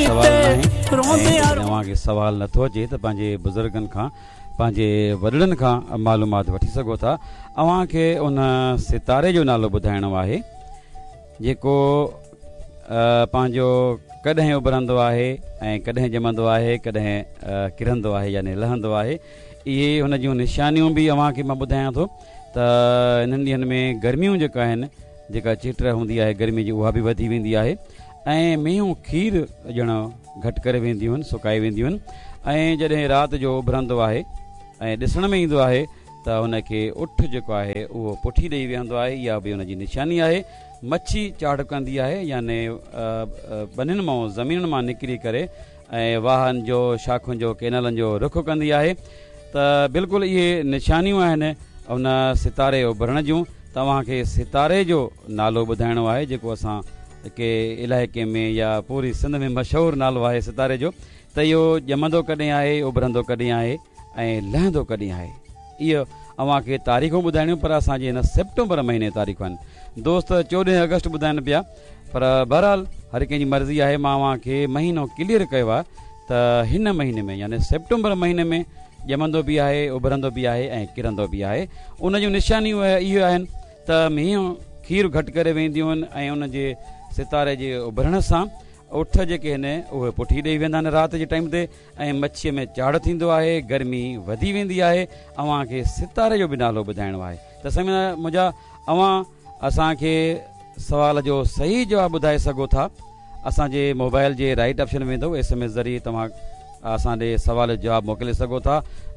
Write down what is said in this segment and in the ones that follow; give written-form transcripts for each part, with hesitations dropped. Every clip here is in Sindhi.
سوال ناهي ۽ جيڪڏهن اوهان کي سوال نٿو اچي ته پنهنجي بزرگن کان پنهنجي وڏڙن کان معلومات وٺي سگهو ٿا. اوهان کي ان ستاري جو نالو ٻڌائڻو آهي جيڪو پنهنجو ڪڏهن اڀرندو آهي ۽ ڪڏهن ڄمندو آهي ڪڏهن ڪرندو آهي يعني لهندو آهي. اهي هن جون نشانيون به اوهان کي مان ٻڌايان ٿو ته انهن ڏينهن ۾ گرميون جيڪا آهن جيڪا چيٽ هوندي آهي گرمي جي اها به وڌي ويندي آهي ۽ مينهون کير ڏيڻ گهٽ ڪري وينديون آهن سڪائي وينديون آهن ۽ جڏهن رات جو اڀرندو آهي ۽ ڏسڻ ۾ ايندو آهي ته ان کي اٺ جيڪو آهي اهو پٺي ڏئي ويهندو آهي اها به ان جي نشاني آهي مڇي چاڙهه ڪندي آهي يعني ٻنين مان زمينن مان نڪري ڪري ۽ واهن جو شاخن جو ڪينالن جو رخ ڪندي آهي ته بلڪل اهي نشانيون آهن ان ستاري اڀرڻ جون توهان کي ستاري جو نالو ٻڌائڻو آهي جيڪو اسان کي علائقي ۾ يا پوري سنڌ ۾ مشهور نالو آهي ستاري جو ته اهو ڄمندو ڪڏهن آهي اڀرندو ڪڏهن آهي ۽ لهندو ڪڏهن آهي اهو اوهان کي تاريخون ٻڌائڻيون پر اسان جي هن سيپٽمبر مهيني تاريخون آهن دوست چوڏهين آگسٽ ٻڌائن پيا پر بهرحال هر ڪنهن جي مرضي آهي مان اوهان کي مهينو ڪليئر ڪيو آهي ته هن مهيني ۾ يعني سيپٽمبر مهيني ۾ ڄمندو به آهي اڀرندو به آهي ۽ ڪرندو به آهي ان جون نشانيون اهي آهن ته مينهون کير گهٽ ڪري وينديون آهن ۽ ان جي ستاري جي اڀرڻ سان اٺ جيڪي آهن اهي پٺي ڏئي ويندا آهن رات جي ٽائيم تي ۽ مڇيء ۾ چاڙهه ٿيندو آهي گرمي وڌي ويندي آهي اوهان کي ستاري جو به نالو ٻڌائڻو آهي ته سائين منهنجا اوهان اسان کي سوال جو صحيح جواب ٻڌائي سگهو ٿا اسان جي موبائل جي رائيٽ آپشن ۾ ويندو ايس ايم ايس ذريعي توهان اسان ڏي سوال جو جواب موڪلي سگهو ٿا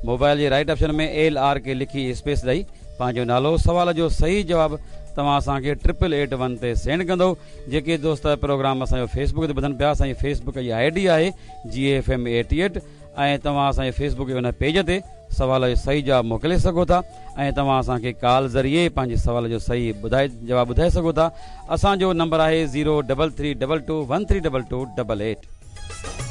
موبائل جي right option ۾ L R K لکي اسپيس ڏئي پنهنجو نالو سوال جو صحيح جواب توهان اسان کي ٽرپل ايٽ ون تي سينڊ ڪندو جيڪي دوست پروگرام اسان جو فيس بڪ تي ٻڌن پيا اسان جي فيس بڪ جي I D آهي جي ايف ايم 88 ۽ توهان اسان جي فيس بڪ جي ان پيج تي سوال جو صحيح جواب موڪلي سگهو ٿا ۽ توهان اسان کي ڪال ذريعي پنهنجي سوال جو صحيح ٻڌائي جواب ٻڌائي سگهو ٿا اسان جو نمبر آهي zero double three double two one three double two double eight.